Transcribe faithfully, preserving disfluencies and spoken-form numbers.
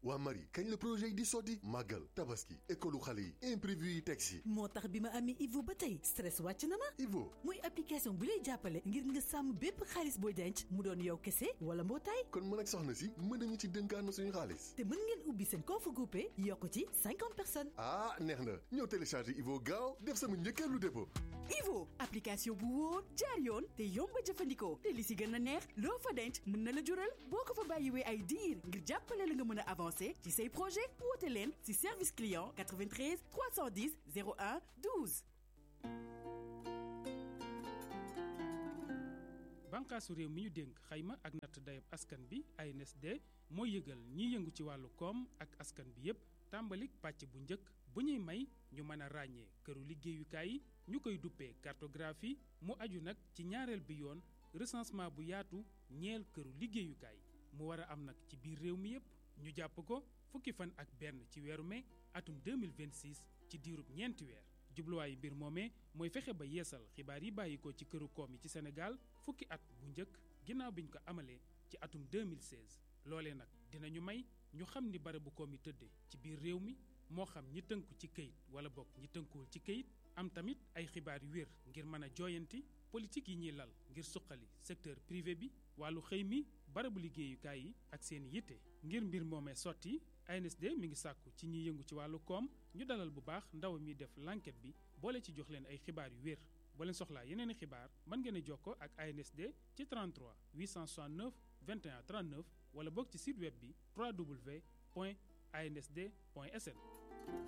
waa Marie kañ la projet yi di sotti màggal tabaski école xale yi imprévu yi teg si. moo tax bi ma amee Ivo ba tey stress wàcc na ma. Ivo muy application bu lay jàppale ngir nga sàmm bépp xaalis booy denc mu doon yow kese wala mbootaay. kon mën ak soxna si mën nañu ci dénkaan suñu xaalis. te mën ngeen ubbi seen compte groupé yokk ci cinquante personnes. ah neex na ñëw télécharger Ivo gaaw def sama njëkkeelu dépôt. Ivo application bu wóor jaar yoon te yomb a jëfandikoo te li si gën a neex loo fa denc mën na la jural boo ko fa bàyyiwee ay diir ngir jàppale la nga mën a avancer ci say projet woote leen ci service client quatre-vingt-treize trois cent dix zéro un douze. bànqaasu réew mi ñu dénk xayma ak natt dayab askan bi A N S D mooy yëgal ñiy yëngu ci wàllu koom ak askan bi yépp tàmbalik pàcc bu njëkk bu ñuy may ñu mën a ràññee këru liggéeyukaay yi ñu koy duppee cartographie mu aju nag ci ñaareel bi yoon recensement bu yaatu ñeel këru liggéeyukaay mu war a am nag ci biir réew mi yépp ñu jàpp ko fukki fan ak benn ci weeru mai atum deux mille vingt-six ci diirub ñeenti weer jubluwaayu mbir moomee mooy fexe ba yeesal xibaar yi bàyyi ko ci këru koom yi ci Sénégal fukki at bu njëkk ginnaaw biñ ko amalee ci atum deux mille seize loolee nag dinañu may ñu xam ni barabu koom yi tëddee ci biir réew mi moo xam ñi tënku ci këyit wala bokk ñi tënkuwul ci këyit am tamit ay xibaar yu wér ngir mën a jooyanti politique yi ñuy lal ngir suqali secteur privé bi wàllu xëy mi barabu liggéeyukaay yi ak seen yitte ngir mbir moomee sotti A N S D mi ngi sàkku ci ñiy yëngu ci wàllu koom ñu dalal bu baax ndaw mi def l'enquête bi boole ci jox leen ay xibaar yu wér boo leen soxlaa yeneen i xibaar mën ngeen a jokkoo ak A N S D ci trente-trois huit cent soixante-neuf vingt et un trente-neuf wala boog ci site web bi w w w point a n s d point s n.